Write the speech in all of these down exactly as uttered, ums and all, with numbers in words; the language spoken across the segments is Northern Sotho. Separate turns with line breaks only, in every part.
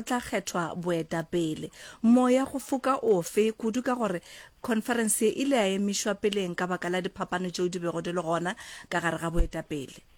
tla kgethwa boetapele. Moya go foka ofe, kudu ka gore khonferense ye e ile ya emišwa peleng ka baka la diphapano tšeo di bego di le gona ka gare ga boetapele?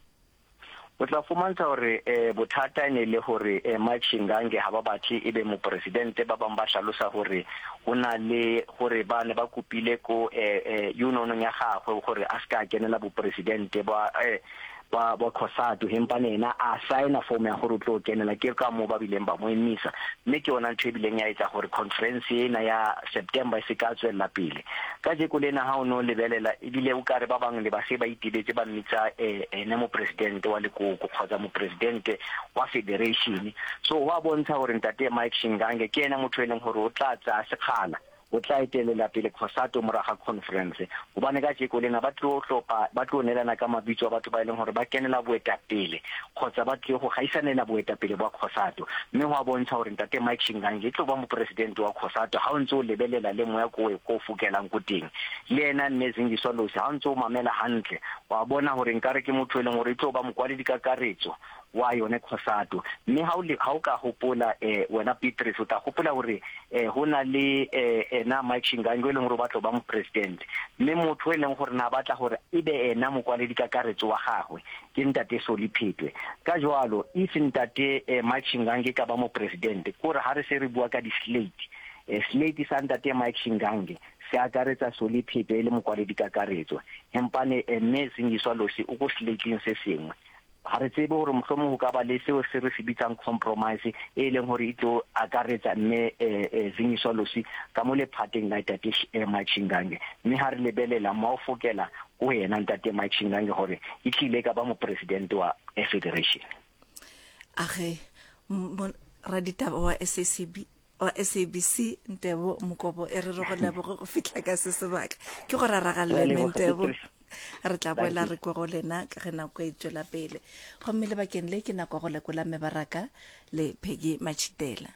O tla fumantsha gore eh, bothata e ne le gore eh, Mike Shingange ha ba batle e be mopresidente. Ba bang ba hlalosa gore go na le gore ba ne ba kopile ko eh, eh, unionong ya gagwe gore a se ka kenela bopresidente ba eh, ba ba COSATU, hempane ena a saena form ya gore o tlo kenela. Ke ka mo ba bileng ba mo emisa, mme ke yona ntho e bileng ya etsa gore conference ena ya September e se ka tswella pele. Ka jeko lena ha o no lebelela, ebile o kare ba bangwe le ba se ba itebetse ba mmitsa eh, ene mopresidente wa lekoko kgotsa mopresidente wa federation. So go a bontsha gore ntate Mike Shingange ke ena motho e leng gore o tla tsaya sekgala, o tla etelela pele COSATU morago ga conference, gobane ka jeko lena ba tlo hlopa, ba tlo neelana ka mabitso a batho ba e leng gore ba kenela boetapele kgotsa ba tlile go gaisanela boetapele bwa COSATU. Mme go a bontsha gore ntate Mike Shingange e tlo ba mopresidente wa COSATU ha o ntse o lebelela le moya ko ko fokelang ko teng. Le ena mme Zingiswa Losi, ha o ntse o mamela hantle, wa bona gore nkare ke motho e leng gore e tlo ba mokwaledi kakaretso wa yone COSATU. Mme ha o le ha o ka hopola, eh wena Petrus, o tla gopola gore eh ho na le eh ena Mike Shingange e leng gore o batla go ba mopresident, mme motho e leng gore na batla gore e be ena mokwaledi kakaretso wa gagwe ke ntate Soli Phetwe. Ka jwalo if ntate eh, Mike Shingange ka ba mopresident, kore ha re se re bua ka di-slate, eh, slate sa ntate Mike Shingange se akaretsa Soli Phetwe e le mokwaledi kakaretso, empane eh, mme Zingiswa Losi o ko slateng se sengwe. Ga re tsebe gore mohlomong go ka ba le seo se re se bitsang compromise e leng gore e tlo akaretsa mme eh, eh, Zingiswa Losi ka mo lephateng la ntate eh, Mike Shingange. Mme ha re lebelela mo o fokela ko yena ntate Mike Shingange gore e tlile ka ba mopresidente wa eh, federation.
Age, raditaba wa S A C B, wa S A B C, Ntebo Mokobo, e re re go leboge go fihla ka se sebaka ke go raragalle. Ntebo, re tla boela re kwe go lena ka ge nako e tswela pele, gomme lebakeng le ke nako go lekola mebaraka le Peggy Machitela.